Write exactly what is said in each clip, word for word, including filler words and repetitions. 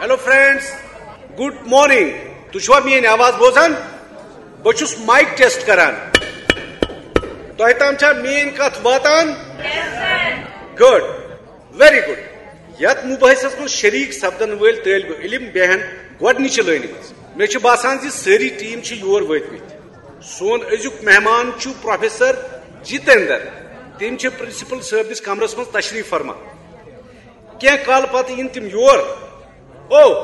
Hello friends, good morning. تُہۍ چھِوا میٲنۍ آواز بوزان؟ بہٕ چھُس مایک ٹیسٹ کران۔ تۄہہِ تام چھا میٲنۍ کتھ واتان؟ گڈ، ویری گڈ۔ یتھ مباحثس منٛز شریک سپدن وٲلۍ طٲلب علم بیہن گۄڈنِچہِ لٲنہِ منٛز۔ مےٚ چھُ باسان زِ سٲری ٹیٖم چھِ یور وٲتمٕتۍ۔ سون أزیُک مہمان چھُ پروفیسر جتیندر۔ تِم چھِ پرنسپل صٲبنِس کمرس منٛز تشریف فرما۔ کینٛہہ کالہٕ پتہٕ یِن تِم یور۔ او،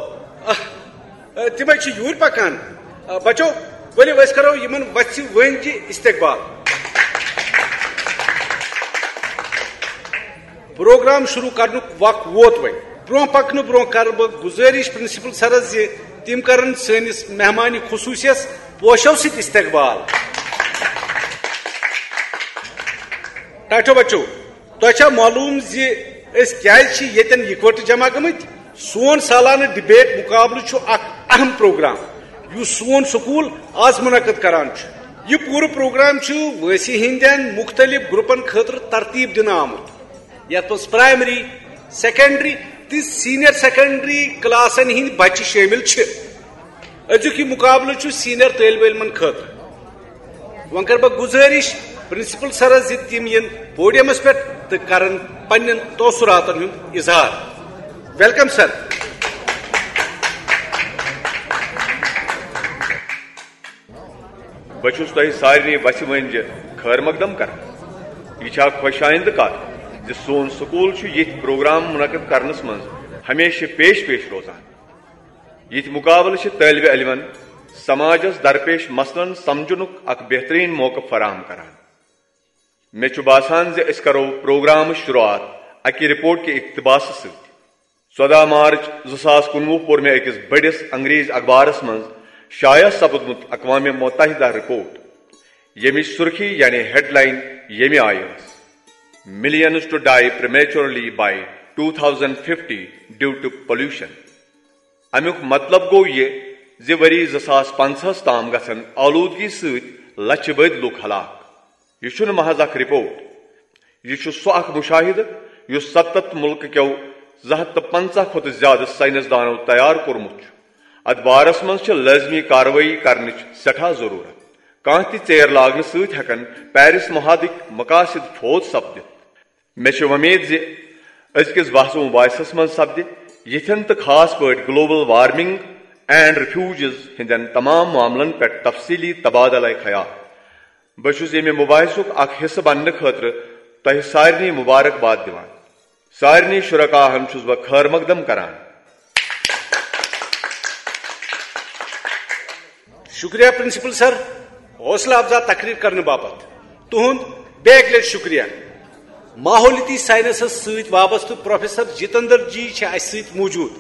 آہ، آہ، تِمے چھِ یوٗرۍ پکان۔ آہ، بچو، ؤلِو أسۍ کرو یِمن وژھِ وٲنجہِ استقبال۔ پروگرام شروع کرنُک وق ووت وۄنۍ۔ برونٛہہ پکنہٕ برونٛہہ کرٕ بہٕ گزٲرِش پرنسپل سرس زِ تِم کرن سٲنِس مہمانِ خصوٗصیس پوشو سۭتۍ استقبال۔ ٹاٹھو بچو، تۄہہِ چھا معلوم زِ أسۍ کیازِ چھِ ییٚتٮ۪ن یِکوَٹہٕ جمع گٔمٕتۍ؟ سون سالانہٕ ڈبیٹ مقابلہٕ چھُ اکھ اہم پروگرام، یُس سون سکول آز منعقد کران چھُ۔ یہِ پوٗرٕ پروگرام چھُ وٲنٛسہِ ہٕنٛدٮ۪ن مُختٔلِف گروپن خٲطرٕ ترتیٖب دِنہٕ آمُت، یتھ منٛز پرائمری، سیکنڈری تہٕ سینئر سیکنڈری کلاسن ہٕنٛدۍ بچہِ شٲمِل چھِ۔ أزیُک یہِ مقابلہٕ چھُ سینئر طٲلبہِ علمن خٲطرٕ۔ وۄنۍ کرٕ بہٕ گُزٲرِش پرنسپل سرس زِ تِم یِن پوڈیمس پٮ۪ٹھ تہٕ کرن پننٮ۪ن تاثراتن ہُنٛد اظہار۔ Welcome sir. بہٕ چھُس تۄہہِ سارنٕے وژھِ وٲنجہِ خٲر مقدم کران۔ یہِ چھِ اکھ خۄش آیندٕ کتھ زِ سون سکول چھُ یِتھۍ پروگرام منعقد کرنس منٛز ہمیشہِ پیش پیش روزان۔ یِتھۍ مقابلہٕ چھِ طٲلبہِ علمن سماجس درپیش مسلن سمجھنُک اکھ بہترین موقعہٕ فراہم کران۔ مےٚ چھُ باسان زِ أسۍ کرو پروگرامٕچ شروعات اکہِ رپورٹ کہِ اقتباسہٕ سۭتۍ۔ ژۄدہ مارچ زٕ ساس کُنوُہ پوٚر مےٚ أکِس بٔڑِس انگریز اخبارس منٛز شایع سپُدمُت اقوام متحدہ رپورٹ، ییٚمِچ سُرخی یعنی ہیڈ لائن ییٚمہِ آیہِ ٲس: Millions to die prematurely by two thousand fifty due to pollution. امیُک مطلب گوٚو یہِ زِ ؤری زٕ ساس پنٛژاہس تام گژھن آلودگی سۭتۍ لچھِ بٔدۍ لوٗکھ ہلاک۔ یہِ چھُنہٕ محض اکھ رپورٹ، یہِ چھُ سُہ اکھ مشاہدٕ یُس ستتھ مُلکہٕ کیو زٕ ہتھ تہٕ پنٛژاہ کھۄتہٕ زیادٕ ساینس دانو تیار کوٚرمُت چھُ۔ اتھ بارس منٛز چھِ لٲزمی کاروٲیی کرنٕچ سٮ۪ٹھاہ ضروٗرت۔ کانٛہہ تہِ ژیر لاگنہٕ سۭتۍ ہٮ۪کن پیرس معاہدٕکۍ مقاصد فوت سپدِتھ۔ مےٚ چھِ وۄمید زِ أزکِس بحث و مباحثس منٛز سپدِ یِتھٮ۪ن تہٕ خاص پٲٹھۍ گلوبل وارمنگ اینڈ ریفیوجیز ہٕنٛدٮ۪ن تمام معاملن پٮ۪ٹھ تفصیلی تبادلہ خیال۔ بہٕ چھُس ییٚمہِ مباحثُک اکھ حصہٕ بننہٕ خٲطرٕ تۄہہِ سارنٕے مبارکباد دِوان۔ سارنٕے شرکاہن چھُس بہٕ خٲر مقدم کران۔ شکریہ پرنسپل سر، حوصلہ افزا تقریر کرنہٕ باپتھ تُہُنٛد بیٚیہِ اکہِ لٹہِ شکریہ۔ ماحولیاتی ساینسس سۭتۍ وابستہٕ پروفیسر جتندر جی چھِ اسہِ سۭتۍ موجود۔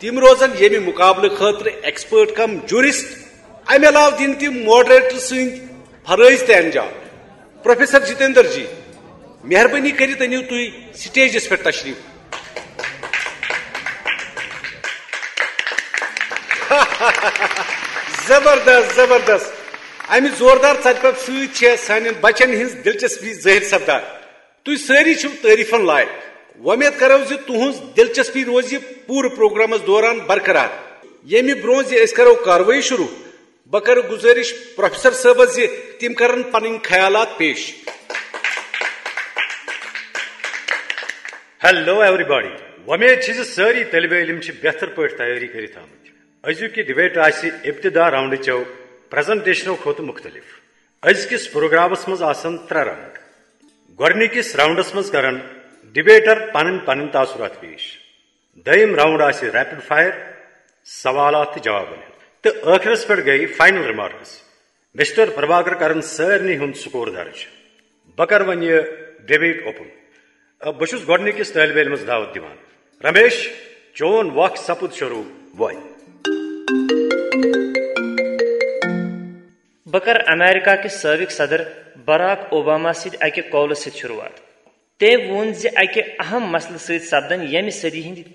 تِم روزن ییٚمہِ مقابلہٕ خٲطرٕ ایکسپرٹ کم جورسٹ۔ امہِ علاوٕ دِن تِم ماڈریٹر سٕنٛدۍ فرٲیض تہِ انجام۔ پروفیسر جتیندر جی، مہربٲنی کٔرِتھ أنِو تُہۍ سٹیجس پٮ۪ٹھ تشریف۔ زبردست، زبردست۔ امہِ زوردار ژرِ پرٛٮ۪تھ سۭتۍ چھےٚ سانٮ۪ن بچن ہٕنٛز دلچسپی ظٲہِر سپدان۔ تُہۍ سٲری چھِو تعریفن لایق۔ وۄمید کرو زِ تُہنٛز دلچسپی روزِ پوٗرٕ پروگرامس دوران برقرار۔ ییٚمہِ برونٛہہ زِ أسۍ کرو کاروٲیی شروع، بہٕ کرٕ گزٲرِش پروفیسر صٲبس زِ تِم کرن پنٕنۍ خیالات پیش۔ Hello everybody. وۄمید چھِ زِ سٲری طٲلبہِ علم چھِ بہتر پٲٹھۍ تیٲری کٔرِتھ آمٕتۍ۔ أزیُک یہِ ڈبیٹ آسہِ ابتدا راؤنڈٕ چٮ۪و پریزنٹیشنو کھۄتہٕ مُختٔلِف۔ أزکِس پروگرامس منٛز آسن ترٛےٚ راؤنڈ۔ گۄڈٕنِکِس راؤنڈس منٛز کرن ڈبیٹر پنٕنۍ پنٕنۍ تاثرات پیش۔ دوٚیِم راؤنڈ آسہِ ریپڈ فائر، سوالات تہٕ جوابن ہُنٛد۔ تہٕ ٲخرس پٮ۪ٹھ گٔیہِ فائنل ریمارکس۔ مسٹر پربھاکر کرن سارنٕے ہُنٛد سکور درج۔ بہٕ کرٕ وۄنۍ یہِ ڈبیٹ اوپن۔ آ، بہٕ چھُس گۄڈٕنِکِس طٲلبہِ علمس دعوت دِوان۔ رمیش، چون وق سپُد شروع وۄنۍ۔ بہٕ کرٕ امریکہ کِس سٲبق صدر براک اوباما سۭتۍ اکہِ قولہٕ سۭتۍ شروعات۔ تٔمۍ ووٚن زِ اکہِ اہم مسلہٕ سۭتۍ سپدن ییٚمہِ صدی ہٕنٛدۍ